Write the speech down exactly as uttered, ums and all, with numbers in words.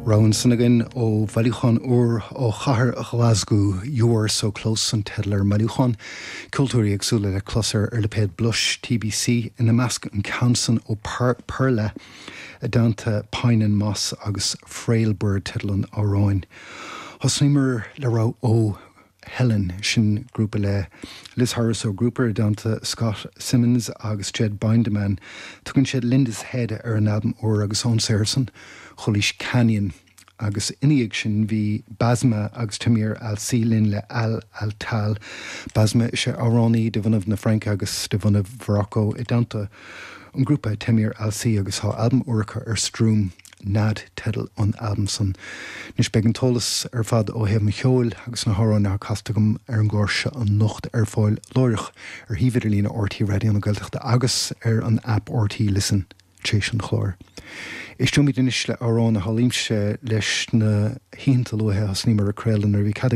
Rogha ansan againn ó bhailiúchán úr ó chathair Ghlaschú You Are So Close an teideal ar an mbailiúchán. Ceoltóirí éagsúla le clos ar ar lipéad Blush TBC ina measc an ceann san ó Perla i dteannta Pine and Moss agus Frail Bird teideal an amhráin. Thosnaíomar le rogha ó Helen sin grúpa le Liz Harris ó Grouper i dteannta Scott Simmons agus Jed Binderman. Tugann siad Linda's Head ar an albam úr agus ón san Chualaís Canyon agus ina dhiaidh sin bhí Basma agus Tamir Al-Si linn le Al Altal. Basma is é amhránaí de bhunadh na Fraince agus de bhunadh Mharocco i dteannta an grúpa Tamir Al-Si agus tá albam úr acu ar Stroom Nad teideal an albam san. Anois beidh an t-eolas ar fad ó thaobh an cheoil agus na hamhráin atá casta agam ar an gclár seo anocht ar fáil láithreach ar shuíomh idirlín RTÉ Raidió na Gaeltachta agus ar an app RTÉ Listen tréis an chláir. Éisteoimid anois le amhrán a shamhlaímse leis na hoícheanta luatha thosnaíomar ag craoladh nuair a bhí cead